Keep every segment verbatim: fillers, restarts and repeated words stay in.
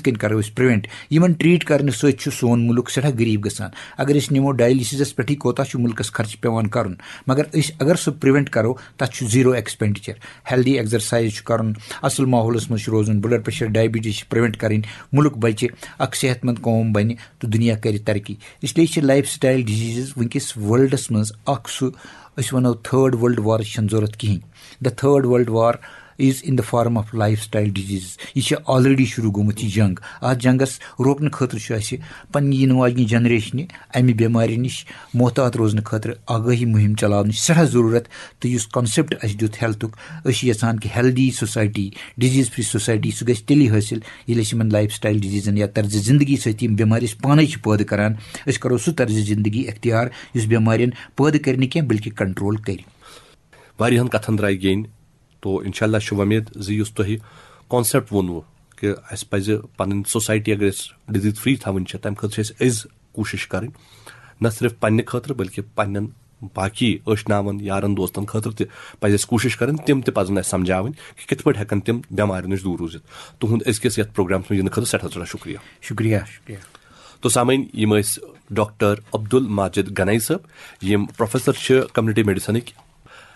کٔنۍ کرو أسۍ پریونٹ؟ یِمن ٹریٹ کرنہٕ سۭتۍ چھُ سون مُلک سٮ۪ٹھاہ غریٖب گژھان۔ اگر أسۍ نِمو ڈایلسِسس پٮ۪ٹھٕے کوتاہ چھُ مُلکس خرچہٕ پٮ۪وان کرُن، مگر أسۍ اگر سُہ پریونٹ کرو، تتھ چھُ زیٖرو ایکسپینڈیچر۔ ہیلدی ایکسرسائز چھُ کرُن، اصل ماحولس منٛز چھُ روزُن، بلڈ پریشر، ڈائبٹیز چھِ پریونٹ کرٕنۍ، مُلک بچہِ، اکھ صحت مند قوم بنہِ، تہٕ دُنیا کرِ ترقی۔ اس لیے چھِ لائف سٹائل ڈیزیزز وٕنکیٚس ورلڈس منٛز اکھ سُہ، أسۍ ونو، تھرڈ ورلڈ وارٕچ چھنہٕ ضرورت کِہینۍ۔ The third world war is in the form of lifestyle diseases. یہِ چھِ آلریڈی شروع گوٚمُت یہِ جنگ۔ اتھ جنگس روکنہٕ خٲطرٕ چھُ اسہِ پننہِ یِنہٕ واجنہِ جنریشنہِ امہِ بٮ۪مارِ نِش محتاط روزنہٕ خٲطرٕ آگٲہی مُہِم چلاونٕچ سٮ۪ٹھاہ ضروٗرت۔ تہٕ یُس کانسیپٹ اسہِ دیُت ہیلتھُک، أسۍ چھِ یژھان کہِ healthy society, disease free society, سُہ گژھِ تیٚلی حٲصِل ییٚلہِ أسۍ یِمن لائف سٹائل ڈیزیزن یا طرز زندگی سۭتۍ یِم بٮ۪مارِ أسۍ پانے چھِ پٲدٕ کران، أسۍ کرو سُہ طرز زندگی اختیار یُس بٮ۪مارٮ۪ن پٲدٕ کرِ نہٕ کینٛہہ بلکہِ کنٹرول کرِ۔ واریاہن کتھن درٛایہِ گیٚنۍ، تو انشاءاللہ چھِ وۄمید زِ یُس تۄہہِ کانسیپٹ ووٚنوُ کہِ اسہِ پزِ پنٕنۍ سوسائٹی اگر أسۍ ڈیزیز فری تھاوٕنۍ چھِ، تمہِ خٲطرٕ چھِ اسہِ أزۍ کوٗشش کرٕنۍ، نہ صرف پننہِ خٲطرٕ بلکہِ پننٮ۪ن باقی ٲشناون یارن دوستن خٲطرٕ تہِ پزِ اسہِ کوٗشش کرٕنۍ، تِم تہِ پزن اسہِ سمجھاوٕنۍ کہِ کِتھ پٲٹھۍ ہٮ۪کن تِم بٮ۪مارِ نِش دوٗر روٗزِتھ۔ تُہُنٛد أزکِس یتھ پروگرامس منٛز یِنہٕ خٲطرٕ سٮ۪ٹھاہ سٮ۪ٹھاہ شُکریہ۔ شُکریہ، شُکریہ۔ تو سامعین، یِم ٲسۍ ڈاکٹر عبدل ماجد گنائی صٲب، یِم پروفیسر چھِ کمیونٹی میڈیسنٕکۍ۔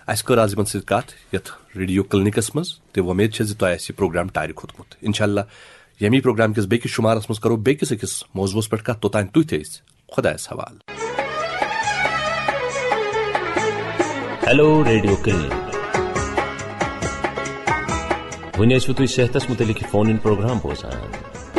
اسہِ کٔر آز یِمن سۭتۍ کتھ یتھ ریڈیو کلینکس منٛز، تہٕ وۄمید چھےٚ زِ تۄہہِ آسہِ یہِ پروگرام ٹارِ کھوٚتمُت۔ انشاءاللہ ییٚمی پروگرام کِس بیٚکِس شُمارس منٛز کرو بیٚکِس أکِس موضوعس پٮ۪ٹھ کتھ۔ توٚتام تُہۍ تھٲیِو خۄدایس حوالہٕ۔ Hello radio clinic. وۄنۍ ٲسِو تُہۍ صحتس متعلق یہِ فون ان پروگرام بوزان۔